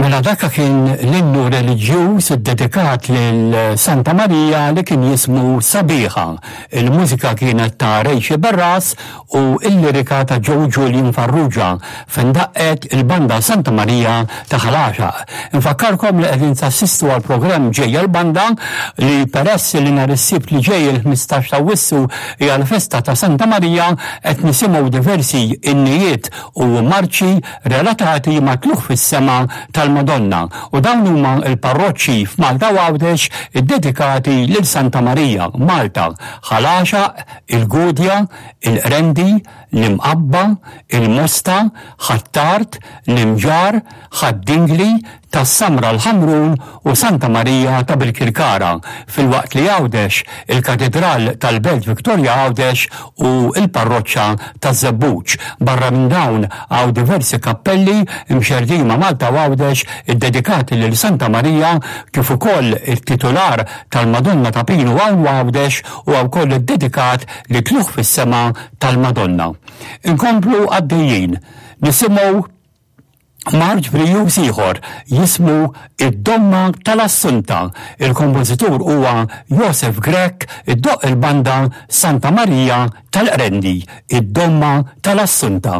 Mela dak kien l-innu reliġjuż iddedikat lil Santa Marija li kien jismu Sabiħa. Il-mużika kienet ta' Ray Sciberras u l-lirika ta' Joe Julian Farrugia fejn daqqet il-Banda Santa Marija ta' Ħal Għaxaq. Infakkarkom li qegħdin tassistu għall-programm Ġejja l-Banda li peress li nhar is-Sibt li ġej il-15 ta' Awwissu hija l-festa ta' Santa Marija qed nisimgħu diversi innijiet u marċi relatati mat-tlugħ fis-sema tal-Madonna u dawn huma l-parroċċi f'Malta u Għawdex iddedikati lil Santa Marija, Malta, Ħal Għaxaq, il-Gudja, il-Qrendi, l-Imqabba, il-Mosta, Ħ'Attard, l-Imġarr, Ħad-Dingli, Tas-Samra l-Ħamrun u Santa Marija ta' Birkirkara, filwaqt li Għawdex, il-Katidral tal-Belt Victoria Għawdex u l-Parroċċa taż-Żebbuġ. Barra minn dawn hawn diversi kappelli mxerrdin ma' Malta u Għawdex iddedikati lil Santa Marija kif ukoll it-titular tal-Madonna ta' Pinu hawn Għawdex huwa wkoll iddedikat lit-Tlugħ fis-Sema tal-Madonna. Inkomplu għaddejjin nisimgħu Marċ brijuż ieħor jismu Id-Domma tal-Assunta. Il-kompożitur huwa Josef Grech, iddoqq il-banda Santa Marija tal-Qrendi, Id-Domma tal-Assunta.